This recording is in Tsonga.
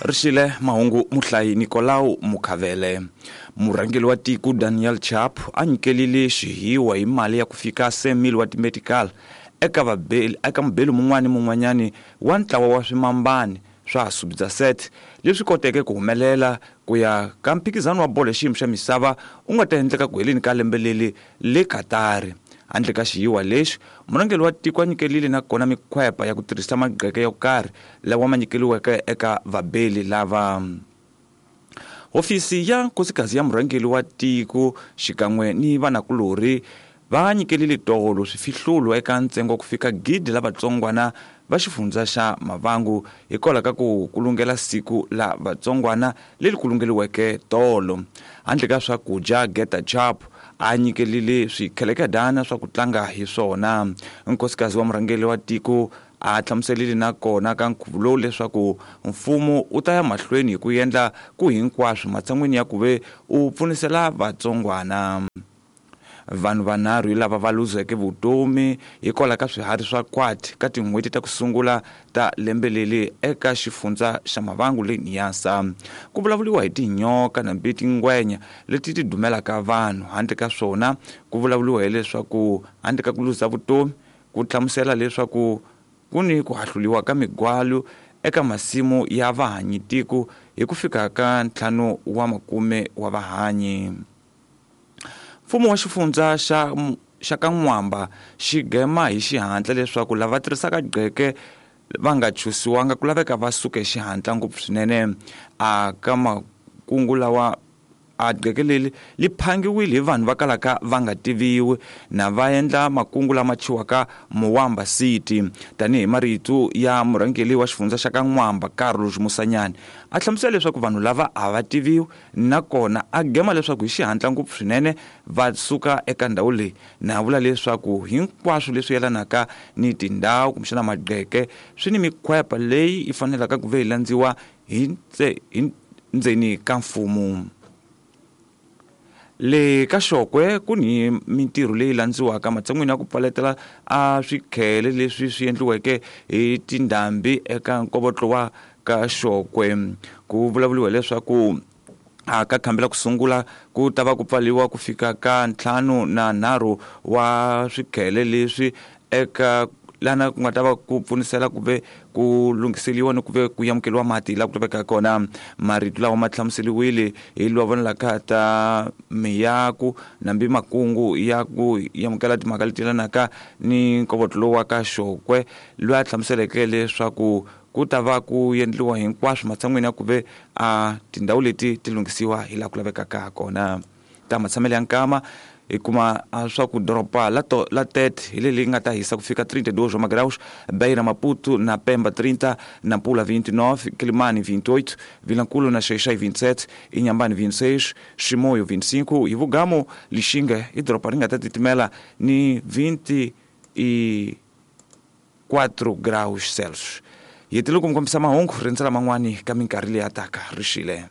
Rixile mahungu muhlayi Nicolau Mukhavele. Murhangeri wa tiko Daniel Chapo a nyikelile xihiwa hi mali ya ku fika 100,000 wa timetical eka vabeli eka mubeli mun'wana ni mun'wanyani wa ntlawa wa swimambani swa Subdzaset leswi koteke ku humelela ku ya ka mphikizano wa bolo ya xiyimo xa misava u nga ta endleka ku heleni ka lembe leri le Katari. Handle ka xiyiwa lexi, murhangeri wa tiko a nyikelile na kona mikhwepa ya ku tirhisa magqeke yo karhi lawa ma nyikeliweke eka vabeli lava. Hofisi ya nkosikazi ya murhangeri wa tiko xikan'we ni vanakulorhi va nyikelile tolo swifihlulo eka ntsengo wa ku fika gidi la vatsongwana va xifundza xa Mavangu hikwalaho ka ku kulungela siku la vatsongwana leri kulungeliweke tolo. Handle ka swakudya, Geta Chap a nyikelile swikhelekedana swa ku tlanga hi swona. Nkosikazi wa murhangeri wa tiko a hlamuselile na kona ka nkhuvo lowu leswaku mfumo wu ta ya mahlweni hi ku endla ku hinkwaswo matshan'wini ya ku ve u pfunisela vatsongwana. Vanhu vanharhu hi lava va luzeke vutomi hikwalaho ka swiharhi swa kwati ka tin'hweti ta ku sungula ta lembe leri eka xifundza xa Mavangu le Niassa. Ku vulavuriwa hi tinyoka nambi tingwenya leti ti dumelaka vanhu. Handle ka swona, ku vulavuriwa hileswaku handle ka ku luza vutomi, ku hlamusela leswaku ku ni ku hahluliwa ka migwalu eka masimu ya vahanyitiko hi ku fika ka 5 wa makume wa vahanyi. Mfumo wa xifundza xa ka N'wamba xi gema hi xihatla leswaku lava tirhisaka gqeke va nga chusiwanga ku laveka va suka hi xihatla ngopfu swinene. A ka makungu lawa a gqeke leri li phangiwile hi vanhu va kalaka va nga tiviwi na va endla makungu lama chiwaka Muwamba City. Tanihi marito ya murhangeri wa xifundza xa ka N'wamba Carlos Musanyani, a hlamusela leswaku vanhu lava a va tiviwi nakona a gema leswaku hi xihatla ngopfu swinene va suka eka ndhawu leyi, na vula leswaku hinkwaswo leswi yelanaka ni tindhawu kumbexana magqeke swi ni mikhwepa leyi yi fanelaka ku ve yi landziwa hi ndzeni ka mfumo. Le ka Xokwe ku ni mintirho leyi landziwaka matshan'wini ya ku pfaletela a swikhele leswi swi endliweke hi tindhambi eka nkovotlo wa ka Xokwe. Ku vulavuriwa leswaku a ka khambela ku sungula ku ta va ku pfaliwa ku fika ka 53 wa swikhele leswi eka lana ku nga ta va ku pfunisela ku ve ku lunghiseliwa ni ku ve ku amukeriwa mati laha ku lavekaka kona. Marito lawa ma hlamuseriwile hi lowa vonelaka ta miyaku nambi makungu ya ku amukela timhaka leti yelanaka ni nkovotlo lowu wa ka Xokwe, loyi a hlamuseleke leswaku ku ta va ku endliwa hinkwaswo matshan'wini ya ku ve a tindhawu leti ti lunghisiwa hi laha ku lavekaka kona. Ta matshamelo ya nkama hi kuma swa ku doroba la Tete hi leri nga ta hisa ku fika 32 wa magraus, Beira, Maputo na Pemba 30, Nampula 29, Quelimane 28, Vilankulo na Xai-Xai 27, Inhambane 26, Chimoio 25, Ivugamo, Lixinga i doroba ri nga ta titimela ni 24 graus Celsius. Hi hetelele ku mi kombisa mahungu rindzela man'wani ka minkarhi leyi ya taka. Rixile.